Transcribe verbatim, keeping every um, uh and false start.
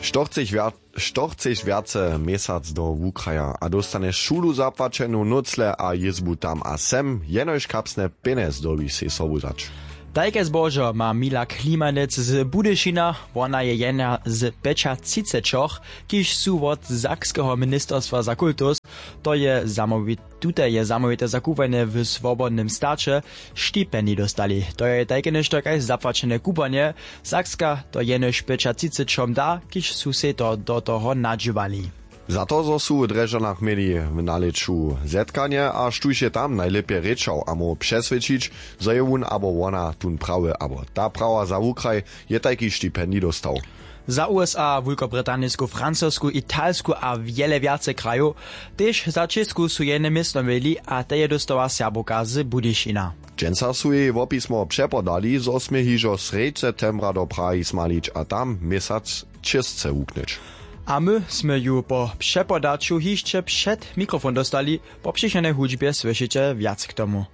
Što chceš wjace měsac do wukraja a dóstanješ šulu zapłaćenu nócle a jězbu tam a sem, jenož kapsne pjenjez dyrbiš sej sobu wzać. Tajke zbožo ma mila klimanec z budyšina. Wona je jedna z pjećatřicećoch, kiž su wot sakskeho ministerstwa za kultus. To je zamołwite tute je zamołwite zakupanje w swobodnym staće. Štipendij dóstali, to je tajke něšto kaž zapłaćene kupanje. Sakska to jenož pjećatřicećom da, kiž su sej to do toho nadźěłali. Za to zo su w drježdźanach měli w nalěću zetkanje a štóž je tam najlěpje rěčał a móhł přeswědčić, zo je wón abo wona tón prawy abo ta prawa za wukraj, je tajki štipendij dóstał. Za usa wulkobritanijsku francosku italsku a wjele wjace krajow, tež za čěsku su jene městno měli a te je dóstała serbowka z budyšina. Dźensa su jej wopismo přepodali zo smě hižo srjedź septembra do prahi smalić a tam měsac čěsce wuknyć. A my smy ju po přepodaću hišće před mikrofon dóstali. Po přichodnej hudźbje słyšeće wjac k tomu.